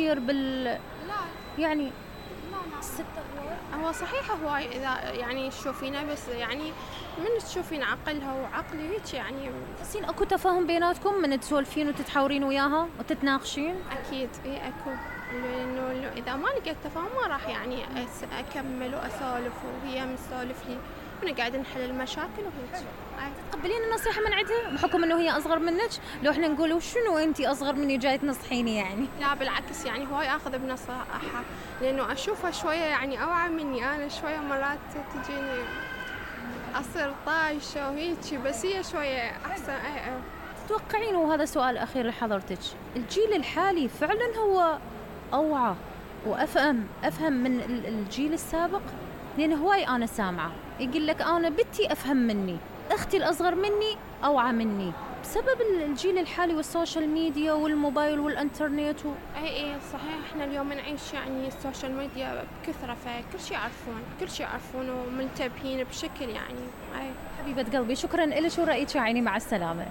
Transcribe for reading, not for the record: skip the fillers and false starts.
كثير لا يعني لا الست هو صحيح هواي إذا يعني تشوفينه، بس يعني من تشوفين عقلها وعقلي هيك يعني. تحسين اكو تفاهم بيناتكم من تسولفين وتتحاورين وياها وتتناقشين؟ أكيد أكو، لأنه إذا ما لقيت تفاهم ما راح يعني أكمل وأسولف وهي مسولف لي ونقعد نحل المشاكل وهيك. تقبلين النصيحة من عندها بحكم انه هي اصغر منك؟ لو احنا نقول شنو انتي اصغر مني جاي تنصحيني يعني؟ لا بالعكس، يعني هواي اخذ بنصائحها لانه اشوفها شويه يعني اوعى مني. انا شويه مرات تجيني اصير طايشه وهيك، بس هي شويه احسن. تتوقعين، وهذا سؤال اخير لحضرتك، الجيل الحالي فعلا هو اوعى وافهم من الجيل السابق؟ لان هواي انا سامعه يقول لك انا بنتي افهم مني، اختي الاصغر مني اوعى مني، بسبب الجيل الحالي والسوشيال ميديا والموبايل والانترنت اي صحيح. احنا اليوم نعيش يعني السوشيال ميديا بكثره، فكل شيء يعرفون ومنتبهين بشكل يعني. حبيبه قلبي، شكرا لك ورأيك يا عيني، مع السلامه.